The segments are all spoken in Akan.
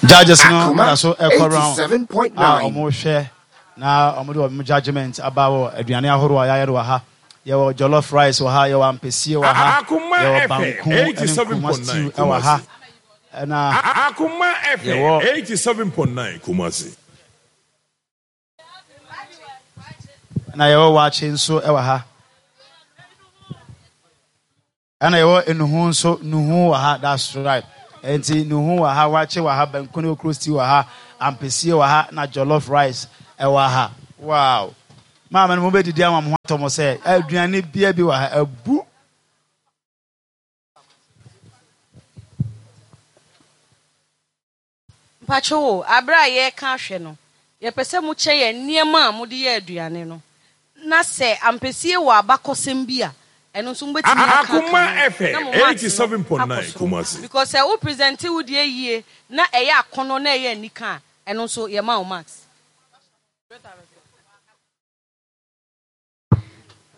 Judges no da so ɛkɔ round a wɔhwɛ na wɔde wɔn judgement aba wɔ aduane ahorow a yɛayɛ no wɔ ha. Yɛwɔ jollof rice wɔ ha, yɛwɔ ampesie wɔ ha, yɛwɔ banku ne nkruma stew wɔ ha. Ɛna Akoma FM yɛwɔ 87.9 Kumasi. Ɛna yɛwɔ waakye nso wɔ ha. Ɛna yɛwɔ nnuhu nso, nnuhu wɔ ha, that's right. Nti nnuhu wɔ ha, waakye wɔ ha, banku ne okro stew wɔ ha, ampesie wɔ ha, na jollof rice ɛwɔ ha. Wow! Maame no mo bɛdidi ama mo ho atɔ mo sɛ aduane bia bi wɔ ha, abu. Mpakyɛw o, aber a yɛreka ahwɛ no, yɛpɛ sɛ mokyɛ yɛn nneɛma a mode yɛ aduane no, na sɛ ampesie wɔ abakɔsɛm bi a, ɛno nso mobɛtumi aka aka Akoma ho na FM mo marks no akɔ 87.9 soro. Kumasi. Because sɛ wo presente wo deɛ yie na ɛyɛ akɔnnɔ na ɛyɛ anika a, ɛno nso yɛma wo marks.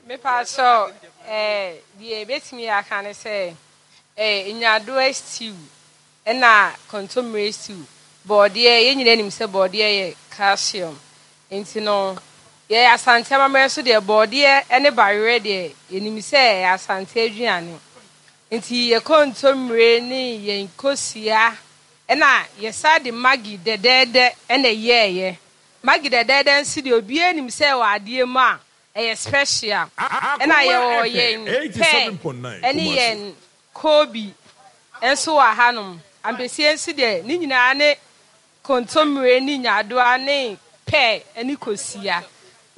Mepakyɛw eh, deɛ yɛbɛtumi aka ne sɛ eh, nyaadoa stew ɛna kontommire stew. Bɔɔdeɛ, yɛn nyinaa nim sɛ bɔɔdeɛ yɛ calcium. Nti no, yɛn Asante amammerɛ nso deɛ bɔɔdeɛ ne bayerɛ deɛ yɛnim sɛ ɛyɛ Asante aduane. Nti yɛn kontommire ne yɛn kosua ɛna yɛsan de maggi dɛdɛɛdɛ ɛna ɛyɛɛyɛ. Maggi dɛdɛɛdɛ nso deɛ obiara nim sɛ ɛwɔ adeɛ mu a ɛyɛ special. Ɛna Akoma yɛwɔ FM yɛn pear 87.9 ɛne Kumasi. yɛn koobi nso wɔ hanom. Ampesie nso deɛ ne nyinaa ne kontommire ne nyaadoa ne pear ne kosua.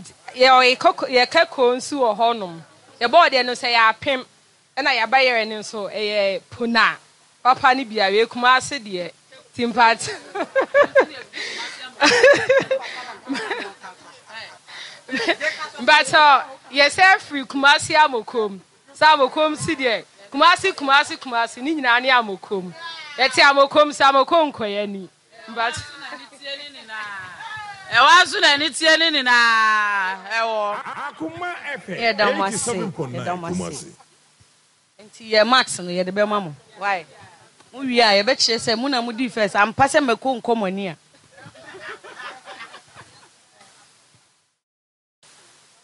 Nti yɛwɔ yɛ kakoo nso wɔ hɔnom. Yɛbɔɔ deɛ no sɛ yɛ apem. Ɛna yaba yɛrɛ no nso ɛyɛ pona papa no bia wei kumase deɛ ti mpakyɛ mpakyɛ yɛsɛ firi kumase amokom sɛ amokom si deɛ kumase kumase kumase ne nyinaa ne amokom yɛte amokom sɛ amokom nkɔyɛ ni mpakyɛ. Ɛwɔ aso na ani tie ne nyinaa ɛwɔ. Akoma FM Yɛda mo ase, 87.9 yɛda mo ase. Kumasi. Nti yɛ marks no yɛde bɛma mo why? Mo wie a yɛbɛkyerɛ sɛ mo na mo dii first ampa sɛ mako nkɔ mo ani a.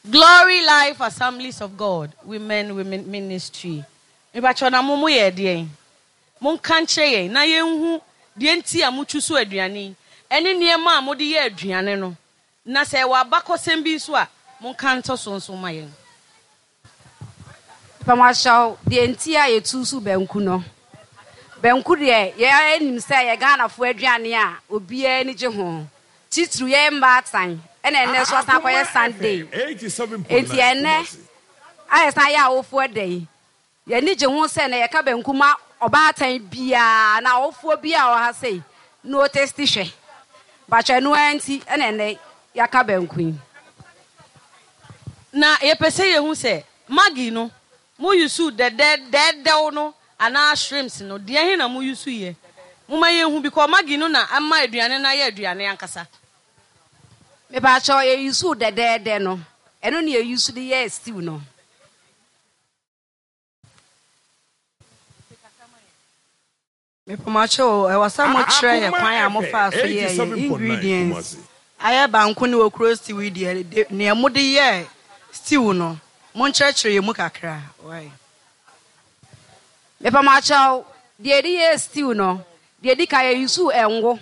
Glory Life Assemblies of God Women Women Ministry Mepakyɛw na mo mo yɛ ɛdeɛn? Monka nkyerɛ yɛn na yɛnhu deɛ nti a mo chusu aduane yi ɛne nneɛma a mode yɛ aduane no na sɛ ɛwɔ abakɔsɛm bi nso a monka ntɔ so nso ma yɛn. Mepakyɛw deɛ nti a yɛchusu banku no Banku deɛ yɛn nim sɛ ɛyɛ Ghanafoɔ aduane a obiara ani gye ho Titiriw yɛn mmaatan ɛna ɛnnɛ nso asan Akoma akɔyɛ Sunday. FM 87.9 Enti ɛnnɛ Kumasi. a yɛsan yɛ awofoɔ da yi, yɛn ani gye ho sɛ nnɛ yɛka banku ma ɔbaatan biara anaa ɔwofoɔ biara a ɔwɔ ha sei na ɔtesti hwɛ. Mpakyɛ ɛno ara nti na ɛnnɛ yɛaka banku yi. Na yɛpɛ sɛ yɛhu sɛ Maggi no mo use dɛdɛ dɛɛdɛw no anaa shrimps no deɛ he na mo use yɛ? Momma yɛnhu because Maggi no na ama aduane no ayɛ aduane ankasa. Mepakyɛw yɛ use dɛdɛɛdɛ no ɛno na yɛ use de yɛɛ stew no. Mepamokyɛw o, ɛwɔ sɛ mo kyerɛ yɛ Akoma kwan a mo FM faa so yɛɛ yɛ 87.9 ingredients Kumasi. ayɛ banku ne okro stew yi deɛ de nea mo de yɛɛ stew no mo nkyerɛkyerɛ yɛ mu kakra wai. Mepamokyɛw, deɛ yɛde yɛɛ stew no, deɛ edi kan yɛ use ngo,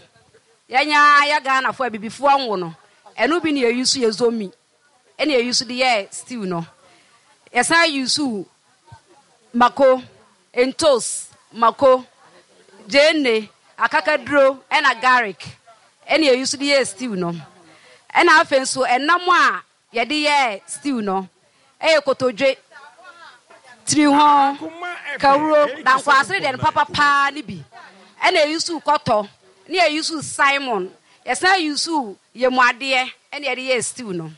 yɛn ara yɛ Ghanafoɔ abibifoɔ ngo no, ɛno bi na yɛ use yɛ zomi ɛna yɛ use de yɛɛ stew no. Yɛsan use mako, ntos, mako, gyeene, akakaduro ɛna garlic ɛna yɛ use de yɛɛ stew no. Ɛna afei nso ɛnam a yɛde yɛɛ stew no ɛyɛ kotodwe, tirihɔn, Akoma FM kawuro, dankwaasere deɛ no 87.9 papa Kumasi. paa ne bi. Ɛna yɛ use kɔtɔ, ne yɛ use salmon, yɛsan use yamuadeɛ ɛna yɛde yɛɛ stew no.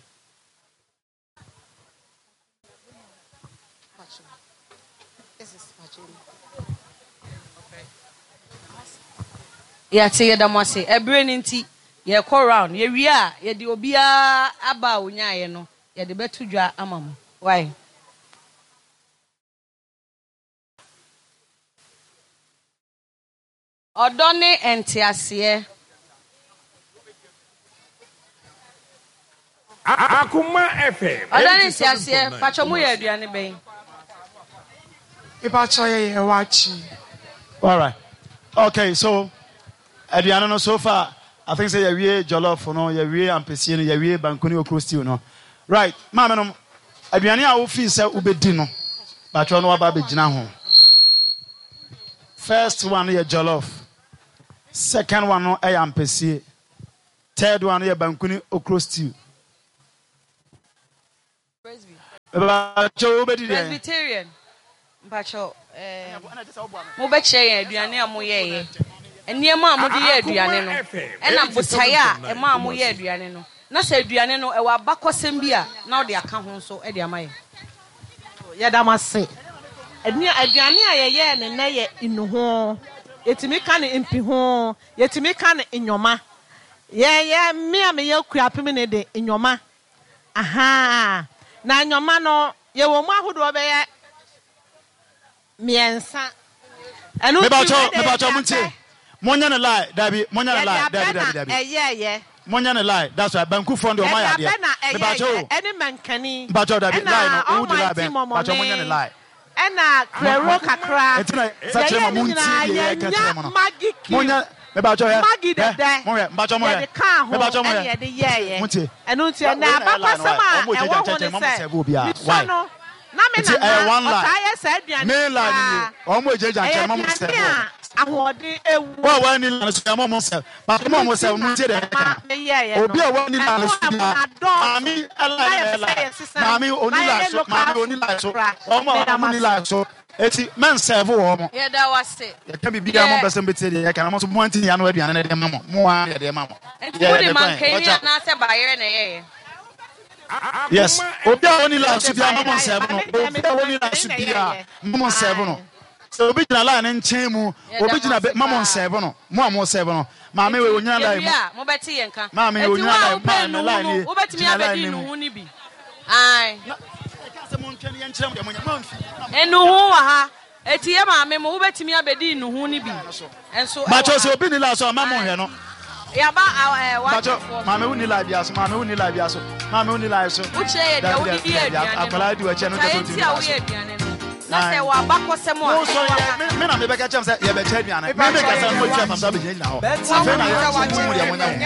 Yɛate, yɛda mo ase. Ɛberɛ no nti, yɛrekɔ round. Yɛwie a, yɛde obiara aba a ɔnyaeɛ no, yɛde bɛto dwa ama mo. Wai? Ɔdɔ ne nteaseɛ. Akoma FM Ɔdɔ ne nteaseɛ, pakyɛ mo yɛ aduane bɛn? Mepakyɛ yɛ yɛ wakye. Alright okay so aduane no so far I think sɛ yɛwie jollof no yɛwie ampesie no yɛwie banku ne okro stew no right maame nom aduane a wofii sɛ wobɛdi no pakyɛ no waba abɛgyina ho first one no yɛ jollof second one no yɛ ampesie Third one no yɛ banku ne okro stew. Mepakyɛw wobɛdi deɛn? Presbyterian mpakyɛw ɛɛm mobɛkyerɛ yɛn aduane a moyɛeɛ, nneɛma a mode yɛɛ aduane no, ɛna botaeɛ a ɛmaa moyɛɛ aduane no, na sɛ aduane no ɛwɔ abakɔsɛm bi a na wode aka ho nso de ama yɛn. Yɛda mo ase. Aduane a yɛyɛɛ no nnɛ yɛ nnuho. Yɛtumi ka no mpiho, yɛtumi ka no nyoma. Yɛyɛ, me a meyɛ Kuapemni de, nyoma. Ahaa. Na nyoma no, yɛwɔ mu ahodoɔ bɛyɛ mmiɛnsa. Ɛno nti Mepakyɛw, wei deɛ mepakyɛw yɛde montie. abɛ. Monyɛ no lie, dabi, monyɛ no Yɛde lie, abɛ dabi, na dabi, dabi. ɛyɛɛyɛ. Monyɛ no lie, that's right. Bankufoɔ no deɛ ɔmo Yɛde ayɛ adeɛ. abɛ na Mepakyɛw ɛyɛɛyɛ, o. ɛne mankani, Mpakyɛw dabi, ɛna lie no, wodi lie almighty bɛn? Mpakyɛw monyɛ no mɔmɔne, lie. ɛna Mo, mo, prɛro kakra. enti na sa kyerɛ Yɛyɛɛ ma ne montie nyinaa, deɛ yɛreka kyerɛ mo yɛnnya no. Maggi cube, Monyɛ, mepakyɛw hɛ, Maggi hɛ, dɛdɛ, monhwɛ, mpakyɛw monhwɛ, yɛde kaa ho mepakyɛw ɛna monhwɛ, yɛde yɛɛyɛ. montie. Ɛno nti Wei ɛnɛ na ɛyɛ lie no abakɔsɛm why? a Ɔmo ɛwɔ gyagya ho nkyɛnkyɛn ne ma mo sɛ, sɛve obiara, mesua why? no, na me Nti ɛyɛ nana one lie. ɔtaa yɛ saa aduane Main yi lie no nie, paa. ɔmo gyagya Ɛyɛ nkyɛn ma mo aduane sɛve wɔn. a ahoɔden wom. Wo a w'anni line no so yɛ ma ɔmo sɛve, but mo a Ɛno mo nti sɛve na montie deɛ ɛma yɛreka no. meyɛeɛ no. Obi a w'anni line no Ɛno so ɛmo biara, adɔɔso maame line na no na yɛpɛ ɛyɛ sɛ line, yɛsesa maame na onni line yɛyɛ so, local maame onni food line so, kakra. wɔn a Meda mo wɔn nni ase. line so, eti mɛnsɛve wɔn. Yɛda wo ase. Yɛka biribiara Deɛ. mo mpɛ sɛ mobɛtie deɛ yɛka no, mo nso mo anti yɛn ano aduane no de ma mo, mo ara yɛde ma mo. Nti Yɛ mode yɛde kwan, mankani watch out. anaasɛ bayerɛ na ɛyɛeɛ? Yes, obi a ɔnni line so biara mo mo nsɛve no, obi a ɔnni line so biara mo mo nsɛve no. Sɛ obi gyina line no nkyɛn mu, Yɛda obi mo gyina ase bɛ, ma mo paa. nsɛve no, mo a mo sɛve no. Maame Enti wei onyina line yɛwie mu. a, mobɛte yɛn nka. Maame Enti wo onyina a line, wopɛ maame nnuhu line no, nie, wobɛtumi gyina line abɛdi no mu. nnuhu no bi. Ae. Na yɛkaa sɛ montwɛn na yɛnkyerɛ mo deɛ monyɛ, moamfi. Nnuhu wɔ ha. Enti yɛ maame mo, wobɛtumi abɛdi nnuhu no bi nso wɔ Mpakyɛw sɛ ha. obi nni line so a, mma Ae. monhwɛ no. Yɛaba ɛɛ Mpakyɛw, w'akyɛfoɔ so. maame wonni line biara so, maame wonni line biara so, maame wonni line so. Wokyerɛ yɛ deɛ Dabi, wode dabi, di dabi, aduane no, akwadaa di w'akyi a, ɛno nkyerɛ sɛ botaeɛ wontumi nti nni a line so. woyɛ aduane no, na sɛ Ae. ɛwɔ abakɔsɛm a, Mo ɛne sɔre yɛ, waka. me, me na mebɛka kyerɛ mo sɛ yɛbɛkyɛ aduane. Me mekasa no, moatwa fam sɛ abɛgyinagyina hɔ. Afei na yɛ, mo mu deɛ monyɛ ho.